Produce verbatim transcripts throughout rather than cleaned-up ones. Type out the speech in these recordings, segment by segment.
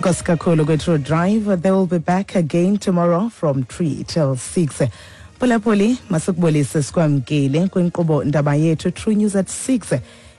Nkosi kakhulu kwe-True Drive. They will be back again tomorrow from three till six. Phulaphuli, masikubulise, sikwamkele kwinkqubo ndaba yethu True News at six.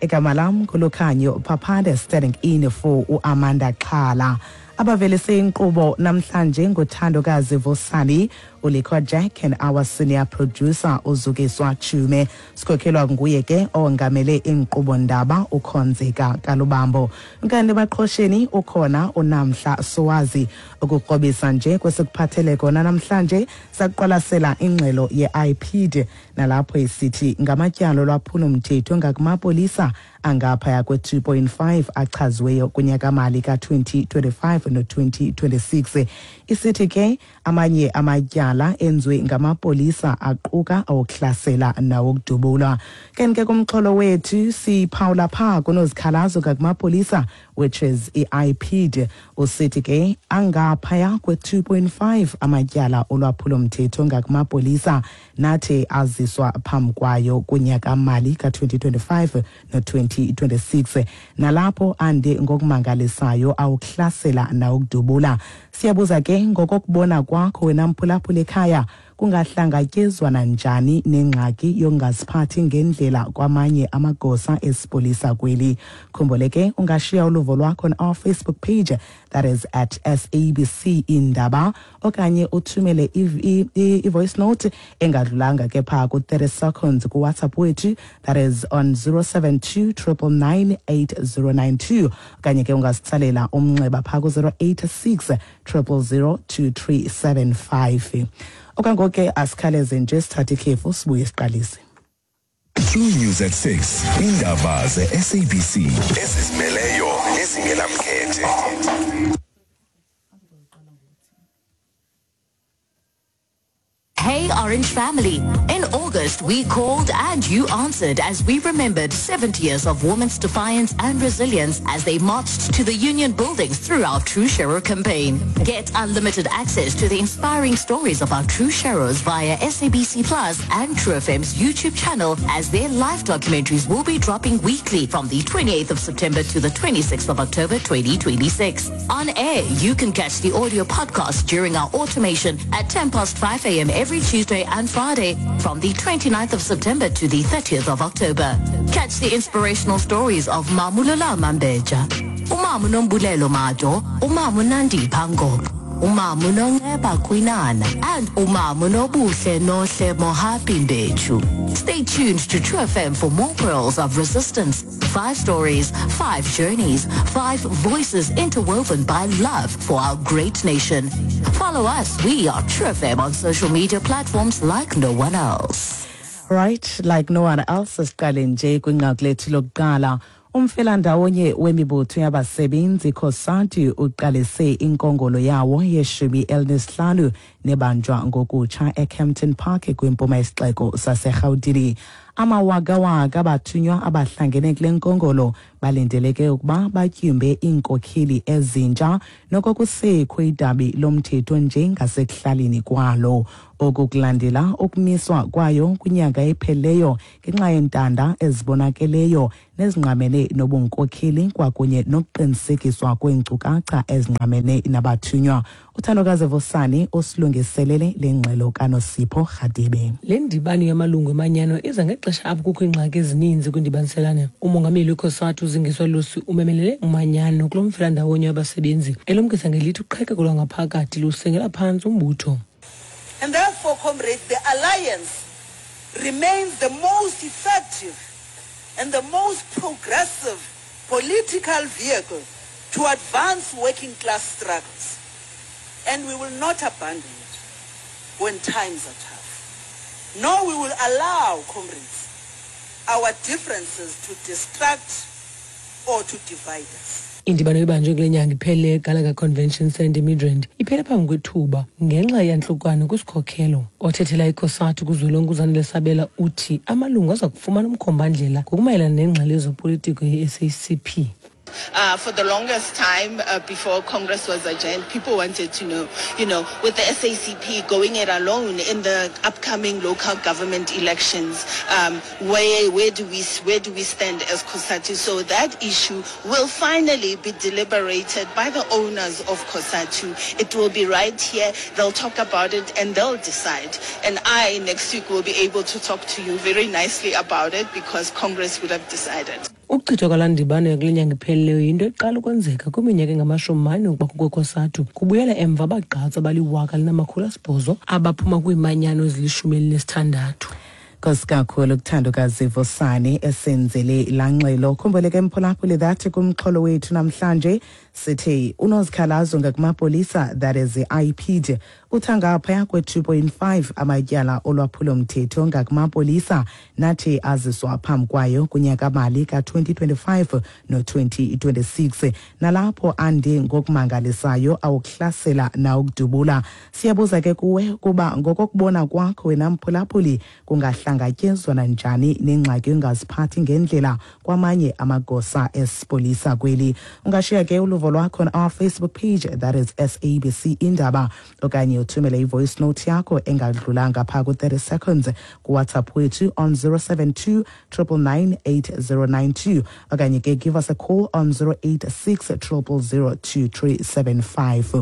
Igama lam nguLukhanyo Paphande, standing in for uAmanda Xhala. Abavelise inkqubo namhlanje nguthandokazi Vosani, uLikwa Jack and our senior producer uZukiswa Chume. Sikhokhelwa nguye ke ongamele inkqubo ndaba uKhonzeka Kalubambo. Kanti baqhosheni ukhona uNamhla Sowazi. Ukukrobisa nje kwesikuphathele kona namhlanje, sakuqwalasela ingxelo ye-I P I D nalapho isithi ngamatyala olwaphulo mthetho ngakumapolisa angaphaya kwe-two point five achaziweyo kunyakamali ka-twenty twenty-five no-twenty twenty-six. Isithi ke amanye amatyala enziwe ngamapolisa aquka awokuhlasela nawokudubula. Kanti ke kumxholo wethu siphawula phaa kunozikhalazo ngakumapolisa, which is i-I P I D, usithi ke angaphaya kwe-two point five amatyala olwaphulo-mthetho ngakumapolisa nathi aziswa phambi kwayo kunyakamali ka-twenty twenty-five no-twenty twenty-six, nalapho ande ngokumangalisayo awukuhlasela nawukudubula. Siyabuza ke, ngokokubona kwakho wena mphulaphula ekhaya, kungahlangatyezwana njani nengxaki yokungaziphathi ngendlela kwamanye amagosa esipolisa kweli? Khumbule ke, ungashiya uluvo lwakho on our Facebook page, that is at S A B C Indaba, okanye uthumele i-voice note engadlulanga ke phaa ku-thirty seconds kuWhatsApp wethu, that is on zero seven two nine nine nine eight zero nine two, okanye ke ungasitsalela umnxeba phaa ku-zero eight six triple zero two three seven five. Okwangoku ke asikhaleze nje, sithathe ikhefu, sibuye siqalise. True News at six. Indaba ze-S A B C ezizimeleyo nezingenamkhethe. Hey, Orange family. In August, we called and you answered as we remembered seventy years of women's defiance and resilience as they marched to the union buildings through our True Sharer campaign. Get unlimited access to the inspiring stories of our True Sharers via S A B C Plus and True F M's YouTube channel, as their live documentaries will be dropping weekly from the twenty-eighth of September to the twenty-sixth of October twenty twenty-six. On air, you can catch the audio podcast during our automation at ten past five a m every Tuesday and Friday from the 29th of September to the thirtieth of October. Catch the inspirational stories of Mamulula Mambeja, Umamu Nombulelo Mado, Umamu Nandi Pango, Umamu Nonceba Kwinana, and Umamu Nobuhle Nohle Mohapi Mbechu. Stay tuned to True F M for more pearls of resistance. Five stories, five journeys, five voices interwoven by love for our great nation. Follow us. We are True F M on social media platforms like no one else. Right, like no one else. Siqale nje kwinqaku lethu lokuqala. Umfelandawonye wemibutho yabasebenzi COSATU uqalise inkongolo yawo yeshumi elinesihlanu nebanjwa ngokutsha eKempton Park kwimpuma yesixeko saseRhawutini. Amawakawaka abathunywa abahlangene kule nkongolo balindeleke ukuba batyumbe iinkokheli ezintsha nokokusekho idabi lomthetho njengasekuhlaleni kwalo. Oku kulandela ukumiswa kwayo kwinyanga ephelileyo ngenxa yeentanda ezibonakeleyo nezingqamene nobunkokheli kwakunye nokuqinisekiswa kweenkcukacha ezingqamene nabathunywa. Uthandokazi Vosani usilungiselele le ngxelo kaNosipho Rhadebe. Le ndibano yamalungu emanyano iza ngexesha apho kukho iingxaki ezininzi kwindibaniselane. Umongameli weCOSATU uZingiswa Losi umemelele umanyano kulo mfelandawonye wabasebenzi, elumkisa ngelithi uqhekeko lwangaphakathi lusengela phantsi umbutho. And therefore, comrades, the alliance remains the most effective and the most progressive political vehicle to advance working class struggles. And we will not abandon it when times are tough. Nor we will allow, comrades, our differences to distract or to divide us. Indibano ibanjwe kule nyanga iphele eGallagher Convention Centre eMidrand iphele phambi kwethuba ngenxa yantlukwano kwisikhokelo. Othethela iCOSATU kuzwelonke uZanele Sabela uthi amalungu aza kufumana umkhombandlela ngokumayelana nengxelo yezopolitiko ye-S A C P. Uh, for the longest time uh, before Congress was adjourned, people wanted to know, you know, with the S A C P going it alone in the upcoming local government elections, um, where, where do we, where do we stand as COSATU? So that issue will finally be deliberated by the owners of COSATU. It will be right here. They'll talk about it and they'll decide. And I, next week, will be able to talk to you very nicely about it because Congress would have decided. Ukuchithwa kwalaa ndibano yakule nyanga iphelileyo yinto eqala ukwenzeka kwiminyaka engamashumi mane ukuba kukweCOSATU kubuyela emva abagqatsi abaliwaka linamakhulu asibhozo abaphuma kwiimanyano ezilishumi elinesithandathu. Nkosi kakhulu kuthandokazi Vosani esenzele laa ngxelo. Khumbule ke mphulaphuli that kumxholo wethu namhlanje sithi unozikhalazo ngakumapolisa, that is the I P D, utha ngaphaya kwe-two point five amatyala olwaphulomthetho ngakumapolisa nathi aziswa phambi kwayo kunyaka-mali ka-twenty twenty-five no-twenty twenty-six, nalapho ande ngokumangalisayo awukuhlasela nawukudubula. Siyabuza ke kuwe kuba ngokokubona kwakho wena mphulaphuli kungahlangatyezwana njani nengxaki yongaziphathi ngendlela kwamanye amagosa esipolisa kweli. Ungashiya ke uluvo lwakho on our Facebook page, that is S A B C Indaba, okanye uthumele i-voice note yakho engadlulanga phaa ku-thirty seconds kuWhatsApp wethu on zero seven two, triple nine, eight zero nine two, okanye ke give us a call on zero eight six, triple zero, two three seven five.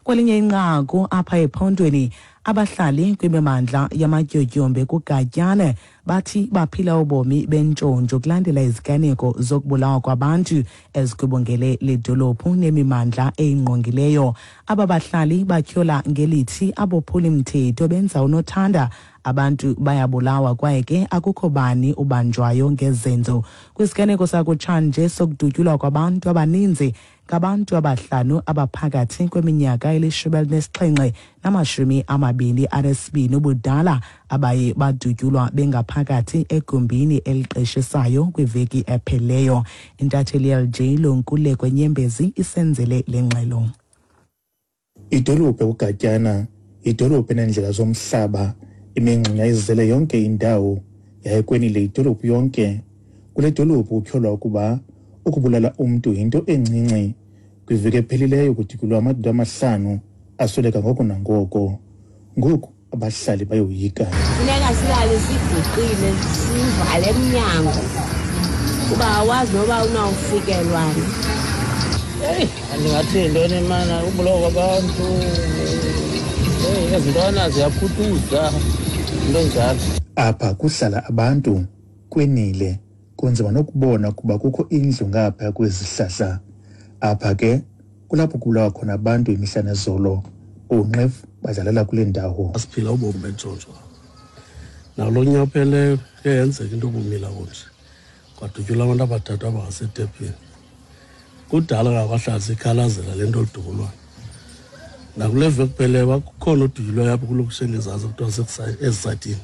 Kwelinye inqaku apha ephondweni, abahlali kwimimandla yamatyotyombe kuGatyane bathi baphila ubomi bentshontsho kulandela iziganeko zokubulawa kwabantu ezigubungele le dolophu nemimandla eyingqongileyo. Aba bahlali batyhola ngelithi abophulimthetho benza unothanda, abantu bayabulawa kwaye ke akukho bani ubanjwayo ngezenzo. Kwisiganeko sakutshanje sokudutyulwa kwabantu abaninzi ngabantu abahlanu abaphakathi kweminyaka elishumi elinesixhenxe namashumi amabini anesibini ubudala abaye badutyulwa bengaphakathi egumbini eliqeshisayo kwiveki epheleyo. Intatheli ye L J Lonkuleko Nyembezi isenzele le ngxelo. Idolophu ekuGatyana, idolophu eneendlela zomhlaba, imingxunya izele yonke indawo, yaye kwenile idolophu yonke. Kule dolophu kutyholwa ukuba ukubulala umntu yinto encinci. Kwiveki ephelileyo kudutyulwa amadoda amahlanu asweleka ngoko nangoko. Ngoku abahlali bayoyika. Funeka silale siguqile, sivale emnyango kuba awazi noba unawufikelwana. Eyi, andingathi yintoni mana, ubulawa kwabantu, eyi, ezi ntwana ziyakhuthuza, into enjalo. Apha kuhlala abantu kwenile, kunzima nokubona ukuba kukho indlu ngapha kwezihlahla. Apha ke kulapho kubulawa khona abantu imihla nezolo. Oonqevu badlalela kule ndawo. Asiphila ubomi bentshontsho. Nakulo nyaka upheleyo kuye yenzeka into obumila kunje. Kwadutyulwa abantu abathathu abangasetephini. Kudala ngabahlali sikhalazela le nto oludubulwayo. Nakule veki kupheleyo kukhona odutyulwayo apho kulokushela izantsi kuthiwa ezisayitini.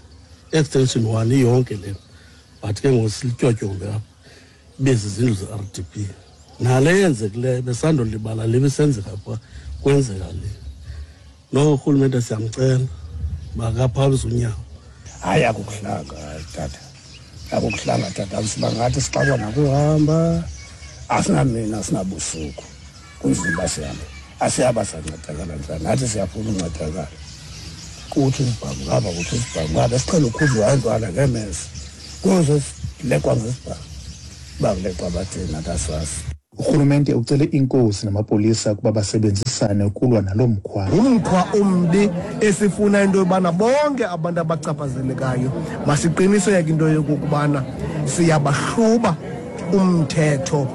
Extension one iyonke le. But ke ngoku silityotyombe apha. Ibe zizindlu ze-R D P. Nale yenzekileyo besandolibala le bisenzeka pha kwenzeka le. No urhulumente siyamcela makaphamise unyawo. Hayi, akukuhlanga tata, akukuhlanga tata. Siba ngathi sixakwa nakuhamba, asinamini asinabusuku, kunzima sihambe. Asiyaba sancedakala njani, nathi siyafuna uncedakala. Kuthi isibhamu ngapha, kuthi isibhamu ngapha, siqhele ukhuzwa intwana ngemeza. Kuze silekwa ngesibhamu, uba kulekwa bathini nathi asazi. Urhulumente ucele inkosi namapolisa ukuba basebenzisane ukulwa nalo mkhwa. Umkhwa ombi esifuna into yobana bonke abantu abachaphazelekayo masiqiniseke into yokokubana siyabahluba umthetho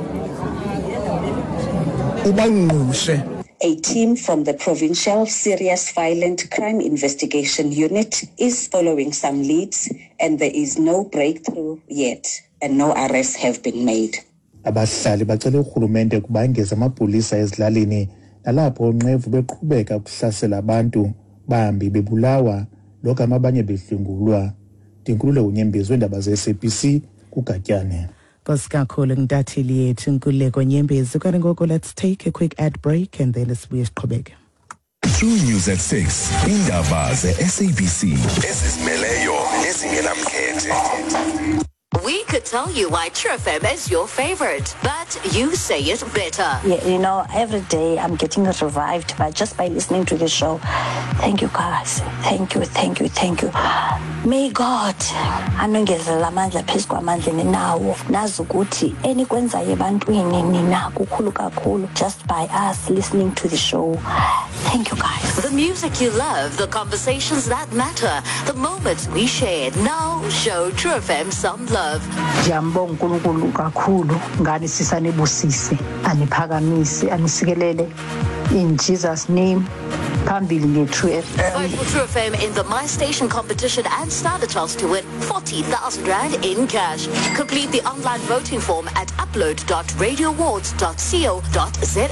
ubangqushe. A team from the Provincial Serious Violent Crime Investigation Unit is following some leads, and there is no breakthrough yet, and no arrests have been made. Abahlali bacele urhulumente ukuba angeze amapolisa ezilalini nalapho oonqevu beqhubeka ukuhlasela abantu, bambi bebulawa logama abanye bedlwengulwa. Ndinkululeko Nyembezi weendaba ze-S A B C kuGatyane. Nkosi kakhulu ntatheli yethu Nkululeko Nyembezi. Kanti ngoku let's take a quick ad break and then sibuye siqhubeke. True News at six, iindaba ze-S A B C ezizimeleyo nezingenamkhethe. We could tell you why True F M is your favorite, but you say it better. Yeah, you know, every day I'm getting revived by just by listening to the show. Thank you, guys. Thank you, thank you, thank you. May God anongezela amandla phezu kwamandla ninawo. Nazi ukuthi enikwenzayo ebantwini nina kukhulu kakhulu just by us listening to the show. Thank you, guys. The music you love, the conversations that matter, the moments we shared. Now show True F M some love. Ndiyambonga uNkulunkulu kakhulu ngani sisanibusise aniphakamise anisikelele in Jesus' name, phambili nge-True F M. Vote for True F M in the My Station competition and stand a chance to win forty thousand rand in cash. Complete the online voting form at upload dot radioawards dot co dot za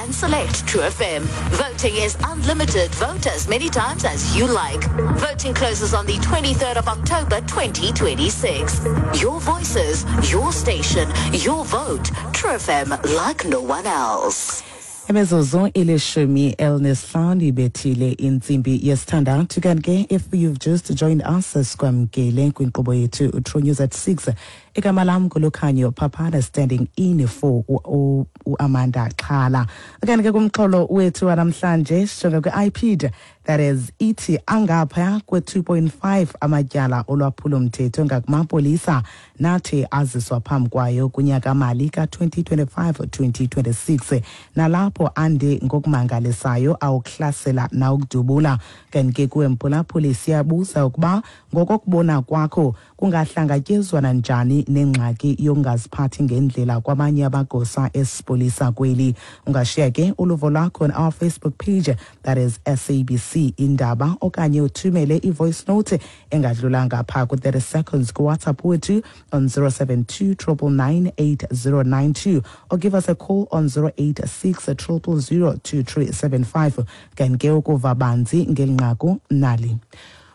and select True F M. Voting is unlimited. Vote as many times as you like. Voting closes on the twenty-third of October twenty twenty-six. Your voices, your station, your vote. True F M, like no one else. Imizuzu ilishumi elinesihlanu ibethile intsimbi yesithandathu. Kanti ke, if you've just joined us, sikwamkele kwinkqubo yethu True News at six. Igama lam nguLukhanyo Phaphana, standing in for uAmanda Xhala. Kanti ke kumxholo wethu wanamhlanje sijonge kwi-I P I D, that is, ithi angaphaya kwe-two point five amatyala olwaphulo-mthetho ngakumapolisa nathi aziswa phambi kwayo kunyaka-mali ka-twenty twenty-five twenty twenty-six, nalapho ande ngokumangalisayo awukuhlasela nawukudubula. Kanti ke kuwe mphulaphuli siyabuza ukuba ngokokubona kwakho kungahlangatyezwana njani nengxaki yokungaziphathi ngendlela kwabanye amagosa esipolisa kweli. Ungashiya ke uluvo lwakho on our Facebook page, that is S A B C Indaba, okanye uthumele i-voice note engadlulanga phaa ku-thirty seconds kuWhatsApp wethu on zero seven two nine nine nine eight zero nine two or give us a call on zero eight six zero zero zero two three seven five. Kanti ke ukuva banzi ngeli nqaku nali.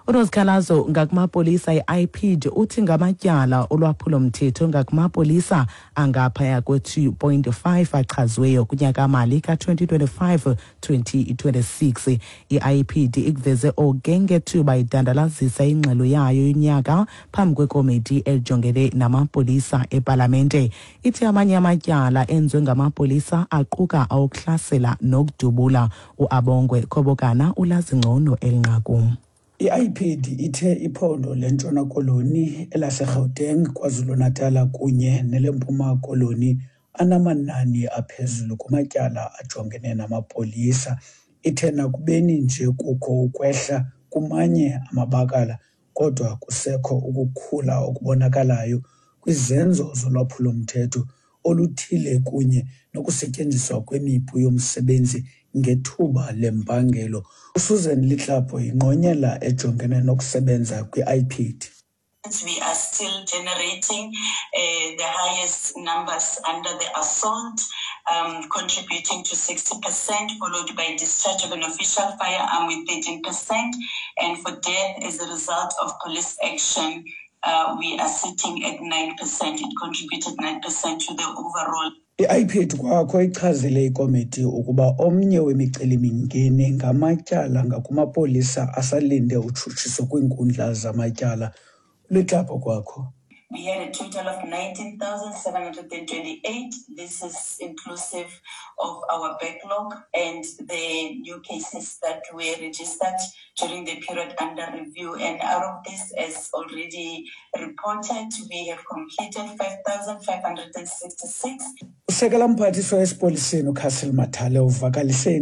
Unozikhalazo ngakumapolisa i-I P I D uthi ngamatyala olwaphulo-mthetho ngakumapolisa angaphaya kwe-two point five achaziweyo kunyaka-mali ka-twenty twenty-five twenty twenty-six. I-I P I D ikuveze oku ngethuba idandalazisa ingxelo yayo yonyaka phambi kwekomiti elijongene namapolisa epalamente. Ithi amanye amatyala enziwe ngamapolisa aquka awokuhlasela nokudubula. UAbongwe Khobokana ulazi ngcono eli nqaku. I-I P I D ithe iphondo leNtshona Koloni, elaseGauteng, KwaZulu-Natal kunye neleMpuma Koloni anamanani aphezulu kumatyala ajongene namapolisa. Ithe nakubeni nje kukho ukwehla kumanye amabakala, kodwa kusekho ukukhula okubonakalayo kwizenzo zolwaphulo-mthetho oluthile kunye nokusetyenziswa kwemipu yomsebenzi ngethuba lempangelo. USusan Litlapo yingqonyela ejongene nokusebenza kwi-I P I D. We are still generating uh, the highest numbers under the assault, um, contributing to sixty percent, followed by discharge of an official firearm with thirteen percent. And for death as a result of police action, uh, we are sitting at nine percent. It contributed nine percent to the overall. I-I P I D kwakho ichazile ikomiti ukuba omnye wemicelimingeni ngamatyala ngakumapolisa asalinde utshutshiso kwiinkundla zamatyala. Litlapo kwakho. We had a total of nineteen thousand seven hundred twenty-eight. This is inclusive of our backlog and the new cases that were registered during the period under review. And out of this, as already reported, we have completed five thousand five hundred sixty-six. Usekela mphathiswa esipoliseni uCassel Mathale uvakalise.